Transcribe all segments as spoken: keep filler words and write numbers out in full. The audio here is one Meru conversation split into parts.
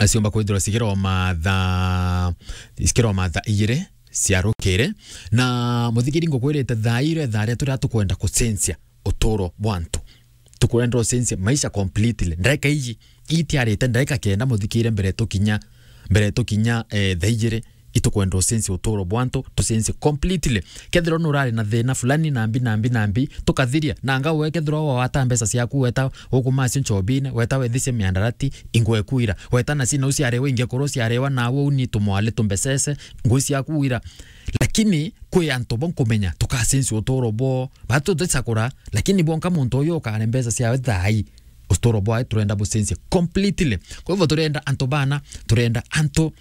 ciomba kwithirwa cikirwa mathaa, cikirwa mathaa igiri cia rukiri. Na muthikiri, ngukwirite thaa iria, thaa ria turia tukwenda kucenjia uturo bwa antu. Tukwenda ucenjie maisha completely. Ndagika iji, itiarite ndagika kenda, muthikire, mbere tukinya, mbere tukinya, eh, thaa igiri, itukwenda ucenjie uturo bwa antu, tucenjie completely. Kethirwa nurari na thina fulani, nambi, nambi, nambi, tukathiria. Na anga we kethirwa wawata mbeca ciaku, weta ukumacio nchobine, weta wethicie miandarati, ingwe kuira, weta na cina uciarewa, inge kuru uciarewa, nawe uni tumwale tumbecece, ngui ciaku ira. Lakini kwi antu bo nkumenya, tukacenjia uturo bwo. Batu tuticakura, lakini bonka muntu uyu ukare mbeca ciawe thaa ii, uturo bwawe turenda bucenjie completely. Kwa hivyo turenda antu bana, turenda antu,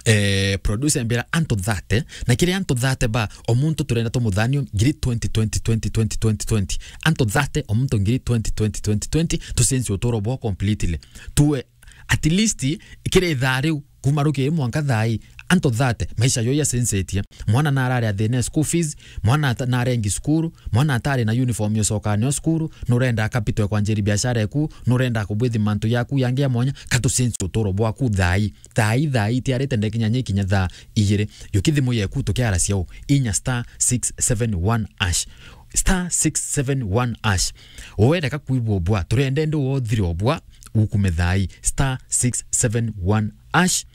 eh, producer mbira antu thirty, na kiri antu thirty ba, o muntu turenda tumuthanie ngiri twenty, twenty, twenty, twenty, twenty, twenty. Antu thirty, o muntu ngiri twenty, twenty, twenty, twenty, tucenjie uturo bwao completely. Tuwe at least kiri thaa riu, kuma rukiri mwanka thaa ii, antu thirty, maisha yo yacenjetie. Mwana narari athina school fees, mwana ata-, narengi cukuru, mwana atari na uniform ya ucoka nayo cukuru, nurenda capital ya kwanjiri biashara yaku, nurenda kubwithi mantu yaku yangi ya mwanya, ka tucenjie uturo bwaku thaa ii. Thaa ii, thaa ii, tiarite ndekinya nyi kinya thaa igiri. Yuki thimu yeku tukiara ciao, inya star six seven one hash. Star six seven one hash. Uwe reka kwibwa ubwa, turende ndi wothire ubwa, ukume thaa ii. Star six seven one hash.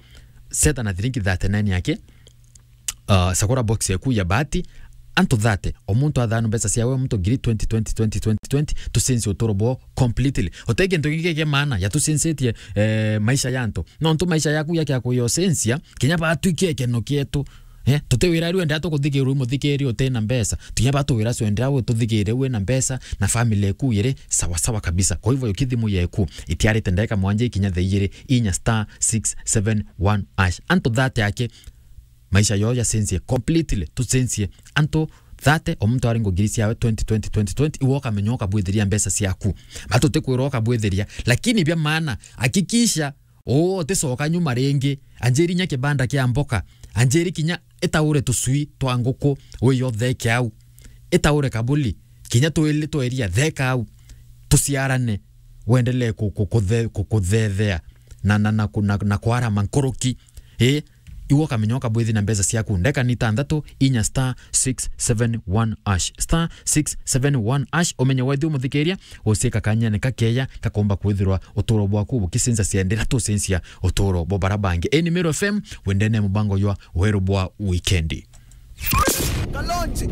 Seta na thiringi thirty-nine yake. Uh, cagura box yaku ya bahati. Antu thirty, o muntu athanu mbeca ciawe, o muntu ngiri twenty, twenty, twenty, twenty, twenty, tucenjie uturo bwao completely. Uti kintu kingi kia maana ya tucenjetie, eh, maisha ya antu. Nontu maisha yaku yakia kuyocenjia, kinya batwikia ikeno kietu. Eh, tuti wira riu endera tukuthikirwa muthikiri uti na mbeca. Tunya batu wira cio endera we tuthikire we na mbeca na family yaku iri sawa sawa kabisa. Kwa hivyo yuki thimu yeku itiarite ndagika mwanja ikinya thaa igiri, inya star six seven one hash. Antu thirty yake maisha yo yacenjie completely, tucenjie. Antu thirty, o muntu ari ngugiri ciawe twenty twenty, twenty twenty, iwe ukamenya ukabwithiria mbeca ciaku. Batu tuti kwirwa ukabwithiria, lakini bia maana, hakikisha uu uticoka nyuma ringi. Anjiri nya kibanda kia mboka, anjiri kinya itaure tucui twa nguku, wiyo theke au. Itaure kabuli, kinya twili twa iria, theka au. Tuciarane, wendelee ku-, ku-, kuthe-, ku-, kuthethea na, na, na, ku-, na, na kwarama nkuruki. Ii, iwe ukamenya ukabwithi na mbeca ciaku. Ndeka ni itantatu, inya star six seven one hash. Star six seven one hash, umenye wethi umuthikiria, ucika kanyene kakeya, kakomba kwithirwa uturo bwaku bukicenjacia ndira tucenjia uturo bwa bara bangi. Ii ni Meru F M, wendene mubango jwa weru bwa wikendi. Kalonji.